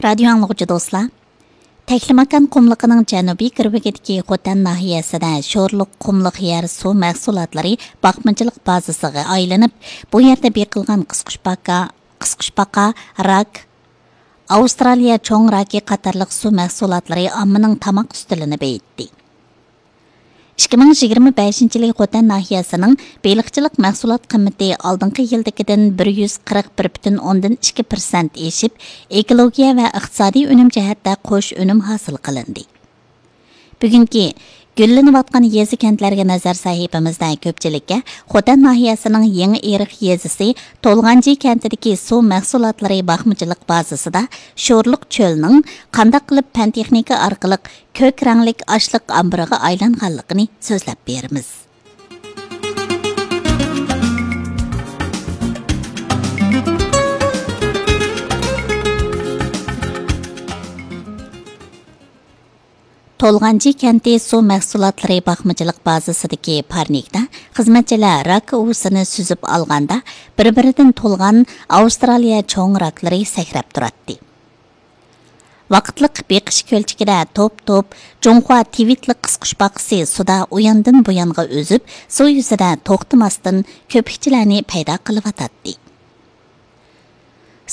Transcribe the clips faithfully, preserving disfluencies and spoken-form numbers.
رادىيو ئاڭلىغۇچى دوستلار، تەكلىماكان قۇملۇقىنىڭ جەنۇبىي گىرۋىكىدىكى خوتەن ناھىيەسىدە شورلۇق قۇملۇق يەر سۇ مەھسۇلاتلىرى باقمىچىلىق بازىسىغا ئايلىنىپ، بۇ يەردە بېقىلغان قىسقۇچپاقا، قىسقۇچپاقا، راك، ئاۋسترالىيە چوڭ راكى قاتارلىق سۇ مەھسۇلاتلىرى ئاممىنىڭ تاماق ئۈستىلىنى بېيىتتى. ئىككى مىڭ يىگىرمە بەشىنچى يىلى خوتەن ناھىيەسىنىڭ بېلىقچىلىق مەھسۇلات قىممىتى ئالدىنقى يىلدىكىدىن بىر يۈز قىرىق بىر پۈتۈن ئوندىن ئىككى پىرسەنت ئېشىپ، ئېكولوگىيە ۋە ئىقتىسادىي ئۈنۈم جەھەتتە قوش ئۈنۈم ھاسىل قىلىندى. بۈگۈنكى گۈللىنىۋاتقان يېزا، كەنتلەرگە نەزەر سەھىپىمىزدە كۆپچىلىككە خوتەن ناھىيەسىنىڭ يېڭى ئېرىق يېزىسى تولغانجى كەنتىدىكى سۇ مەھسۇلاتلىرى باقمىچىلىق بازىسىدا شورلۇق چۆلنىڭ قانداق قىلىپ پەن تېخنىكا ئارقىلىق كۆك رەڭلىك ئاشلىق ئامبىرىغا ئايلانغانلىقىنى سۆزلەپ بېرىمىز. تولغانجى كەنتى سۇ مەھسۇلاتلىرى باقمىچىلىق بازىسىدىكى پارنىكتا خىزمەتچىلەر راك ئۇۋىسىنى سۈزۈپ ئالغاندا، بىر-بىرىدىن تولغان ئاۋسترالىيە چوڭ راكلىرى سەكرەپ تۇراتتى. ۋاقىتلىق بېقىش كۆلچىكىدە توپ-توپ جۇڭخۇا تىۋىتلىق قىسقۇچپاقىسى سۇدا ئۇياندىن بۇيانغا ئۈزۈپ، سۇ يۈزىدە توختىماستىن كۆپۈكچىلەرنى پەيدا قىلىۋاتاتتى.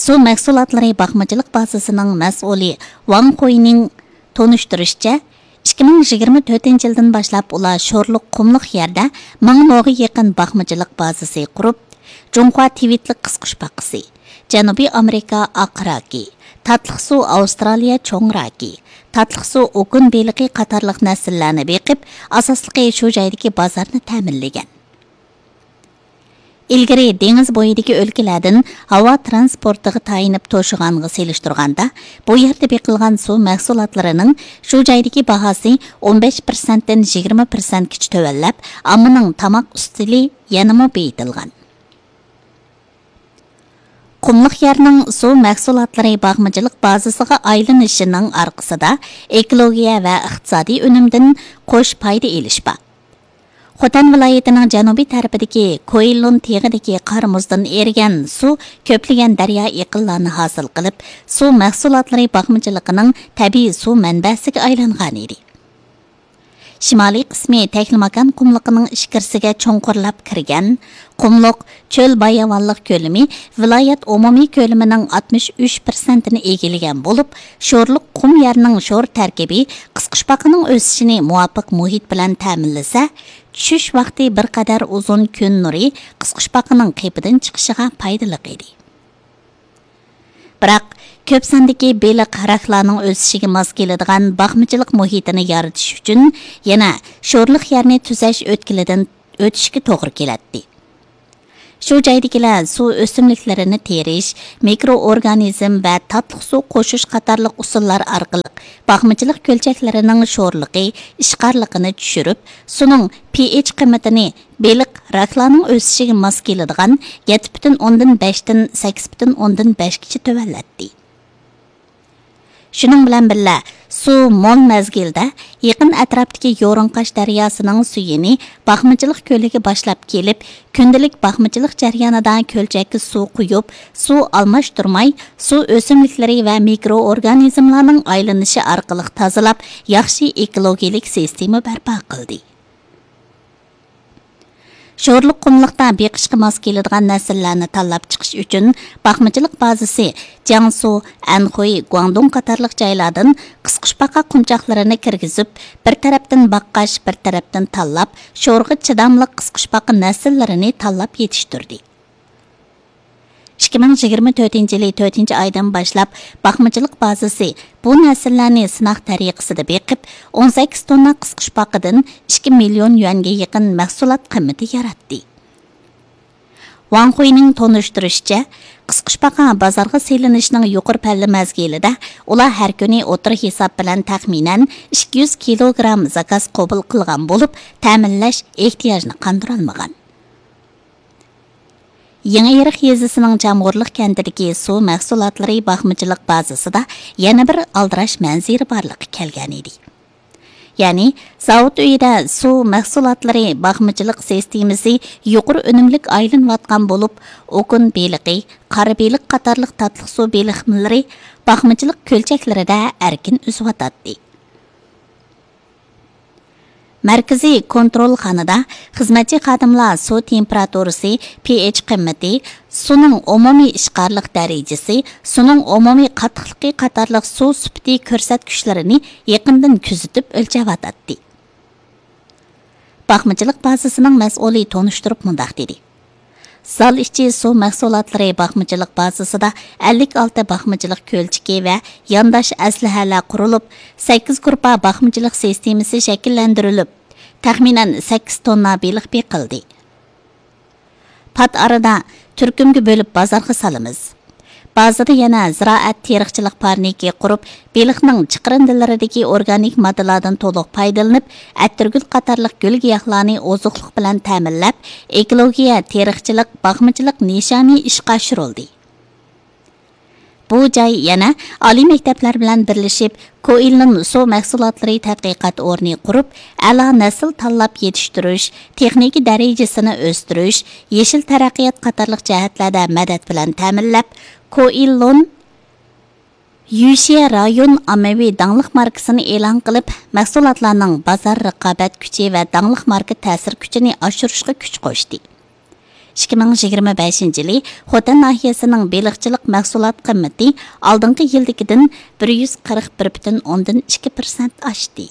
سۇ مەھسۇلاتلىرى باقمىچىلىق بازىسىنىڭ مەسئۇلى ۋاڭ خۇينىڭ تونۇشتۇرۇشىچە، ئىككى مىڭ يىگىرمە تۆتىنچى يىلدىن باشلاپ ئۇلار شورلۇق قۇملۇق يەردە مىڭ موغا يېقىن باقمىچىلىق بازىسى قۇرۇپ، جۇڭخۇا تىۋىتلىق قىسقۇچپاقىسى، جەنۇبىي ئامېرىكا ئاق راكى، تاتلىق سۇ ئاۋسترالىيە چوڭ راكى، تاتلىق سۇ ئوكۇن بېلىقى قاتارلىق نەسىللەرنى بېقىپ، ئاساسلىقى شۇ جايدىكى بازارنى تەمىنلىگەن. ئىلگىرى دېڭىز بويىدىكى ئۆلكىلەردىن ھاۋا تىرانسپورتىغا تايىنىپ توشۇغانغا سېلىشتۇرغاندا، بۇ يەردە بېقىلغان سۇ مەھسۇلاتلىرىنىڭ شۇ جايدىكى باھاسى ئون بەش پىرسەنتتىن يىگىرمە پىرسەنتكىچە تۆۋەنلەپ، ئاممىنىڭ تاماق ئۈستىلى يەنىمۇ بېيىتىلغان. قۇملۇق يەرنىڭ سۇ مەھسۇلاتلىرى باقمىچىلىق بازىسىغا ئايلىنىشىنىڭ ئارقىسىدا ئېكولوگىيە ۋە ئىقتىسادىي ئۈنۈمدىن قوش پايدا ئېلىش بار. خوتەن ۋىلايىتىنىڭ جەنۇبىي تەرىپىدىكى كويلۇن تېغىدىكى قار مۇزدىن ئېرىگەن سۇ كۆپلىگەن دەريا ئېقىنلارنى ھاسىل قىلىپ، سۇ مەھسۇلاتلىرى باقمىچىلىقىنىڭ تەبىئىي سۇ مەنبەسىگە ئايلانغانىدى. شىمالىي قىسمى تەكلىماكان قۇملۇقىنىڭ ئىچكىرىسىگە چوڭقۇرلاپ كىرگەن. قۇملۇق چۆل باياۋانلىق كۆلىمى ۋىلايەت ئومۇمىي كۆلىمىنىڭ ئاتمىش ئۈچ پىرسەنتىنى ئىگىلىگەن بولۇپ، شورلۇق قۇم يەرنىڭ شور تەركىبى قىسقۇچپاقىنىڭ ئۆسۈشىنى مۇۋاپىق مۇھىت بىلەن تەمىنلىسە، چۈشۈش ۋاقتى بىر قەدەر ئۇزۇن كۈن نۇرى قىسقۇچپاقىنىڭ قېپىدىن چىقىشىغا پايدىلىق ئىدى. بىراق، كۆپ ساندىكى بېلىق، راكلارنىڭ ئۆسۈشىگە ماس كېلىدىغان باقمىچىلىق مۇھىتىنى يارىتىش ئۈچۈن يەنە شورلۇق يەرنى تۈزەش ئۆتكىلىدىن ئۆتۈشكە توغرا كېلەتتى. شۇ جايدىكىلەر سۇ ئۆسۈملۈكلىرىنى تېرىش، مىكرو ئورگانىزم ۋە تاتلىق سۇ قوشۇش قاتارلىق ئۇسۇللار ئارقىلىق باقمىچىلىق كۆلچەكلىرىنىڭ شورلۇقى، ئىشقارلىقىنى چۈشۈرۈپ، سۇنىڭ پىئېچ قىممىتىنى بېلىق، راكلارنىڭ ئۆسۈشىگە ماس كېلىدىغان يەتتە پۈتۈن ئوندىن بەشتىن سەككىز پۈتۈن ئوندىن بەشكىچە تۆۋەنلەتتى. شۇنىڭ بىلەن بىللە، سۇ مول مەزگىلدە يېقىن ئەتراپتىكى يورۇڭقاش دەرياسىنىڭ سۈيىنى باقمىچىلىق كۆلىگە باشلاپ كېلىپ، كۈندىلىك باقمىچىلىق جەريانىدا كۆلچەككە سۇ قۇيۇپ، سۇ ئالماشتۇرماي، سۇ ئۆسۈملۈكلىرى ۋە مىكرو ئورگانىزملارنىڭ ئايلىنىشى ئارقىلىق تازىلاپ، ياخشى ئېكولوگىيىلىك سىستېما بەرپا قىلدى. شورلۇق قۇملۇقتا بېقىشقا ماس كېلىدىغان نەسىللەرنى تاللاپ چىقىش ئۈچۈن، باقمىچىلىق بازىسى جياڭسۇ، ئەنخۇي، گۇاڭدۇڭ قاتارلىق جايلاردىن قىسقۇچپاقا قۇمچاقلىرىنى كىرگۈزۈپ، بىر تەرەپتىن باققاچ، بىر تەرەپتىن تاللاپ، شورغا چىداملىق قىسقۇچپاقا نەسىللىرىنى تاللاپ يېتىشتۈردى. ئىككى مىڭ يىگىرمە تۆتىنچى يىلى تۆتىنچى ئايدىن باشلاپ، باقمىچىلىق بازىسى بۇ نەسىللەرنى سىناق تەرىقىسىدە بېقىپ، ئون سەككىز توننا قىسقۇچپاقىدىن ئىككى مىليون يۈەنگە يېقىن مەھسۇلات قىممىتى ياراتتى. ۋاڭ خۇينىڭ تونۇشتۇرۇشىچە، قىسقۇچپاقا بازارغا سېلىنىشنىڭ يۇقىرى پەللە مەزگىلىدە ئۇلار ھەر كۈنى ئوتتۇرا ھېساب بىلەن تەخمىنەن ئىككى يۈز كىلوگرام زاكاز قوبۇل قىلغان بولۇپ، تەمىنلەش ئېھتىياجىنى قاندۇرالمىغان. يېڭىئېرىق يېزىسىنىڭ چامغۇرلۇق كەنتىدىكى سۇ مەھسۇلاتلىرى باقمىچىلىق بازىسىدا يەنە بىر ئالدىراش مەنزىرە بارلىققا كەلگەنىدى. يەنى زاۋۇت ئۆيىدە سۇ مەھسۇلاتلىرى باقمىچىلىق سىستېمىسى يۇقىرى ئۈنۈملۈك ئايلىنىۋاتقان بولۇپ، ئوكۇن بېلىقى، قارا بېلىق قاتارلىق تاتلىق سۇ بېلىقلىرى باقمىچىلىق كۆلچەكلىرىدە ئەركىن ئۈزۈۋاتاتتى. مەركىزىي كونترولخانىدا خىزمەتچى خادىملار سۇ تېمپېراتۇرىسى، پىئېچ قىممىتى، سۇنىڭ ئومۇمىي ئىشقارلىق دەرىجىسى، سۇنىڭ ئومۇمىي قاتتىقلىقى قاتارلىق سۇ سۈپىتى كۆرسەتكۈچلىرىنى يېقىندىن كۆزىتىپ ئۆلچەۋاتاتتى. باقمىچىلىق بازىسىنىڭ مەسئۇلى تونۇشتۇرۇپ مۇنداق دېدى: زال ئىچى سۇ مەھسۇلاتلىرى باقمىچىلىق بازىسىدا ئەللىك ئالتە باقمىچىلىق كۆلچىكى ۋە يانداش ئەسلىھەلەر قۇرۇلۇپ، سەككىز گۇرۇپپا باقمىچىلىق سىستېمىسى شەكىللەندۈرۈلۈپ، تەخمىنەن سەككىز توننا بېلىق بېقىلدى. پات ئارىدا تۈركۈمگە بۆلۈپ بازارغا سالىمىز. بازىدا يەنە زىرائەت تېرىقچىلىق پارنىكى قۇرۇپ، بېلىقنىڭ چىقىرىندىلىرىدىكى ئورگانىك ماددىلاردىن تولۇق پايدىلىنىپ، ئەتىرگۈل قاتارلىق گۈل گىياھلارنى ئوزۇقلۇق بىلەن تەمىنلەپ، ئېكولوگىيە تېرىقچىلىق، باقمىچىلىق نىشانى ئىشقا ئاشۇرۇلدى. بۇ جاي يەنە ئالىي مەكتەپلەر بىلەن بىرلىشىپ، كوئىلون سۇ مەھسۇلاتلىرى تەتقىقات ئورنى قۇرۇپ، ئەلا نەسىل تاللاپ يېتىشتۈرۈش، تېخنىكا دەرىجىسىنى ئۆستۈرۈش، يېشىل تەرەققىيات قاتارلىق جەھەتلەردە مەدەت بىلەن تەمىنلەپ، كوئىلون يۈشيە رايون ئاممىۋى داڭلىق ماركىسىنى ئېلان قىلىپ، مەھسۇلاتلارنىڭ بازار رىقابەت كۈچى ۋە داڭلىق ماركا تەسىر كۈچىنى ئاشۇرۇشقا كۈچ قوشتى. ئىككى مىڭ يىگىرمە بەشىنچى يىلى خوتەن ناھىيەسىنىڭ بېلىقچىلىق مەھسۇلات قىممىتى ئالدىنقى يىلدىكىدىن بىر يۈز قىرىق بىر پۈتۈن ئوندىن ئىككى پىرسەنت ئاشتى.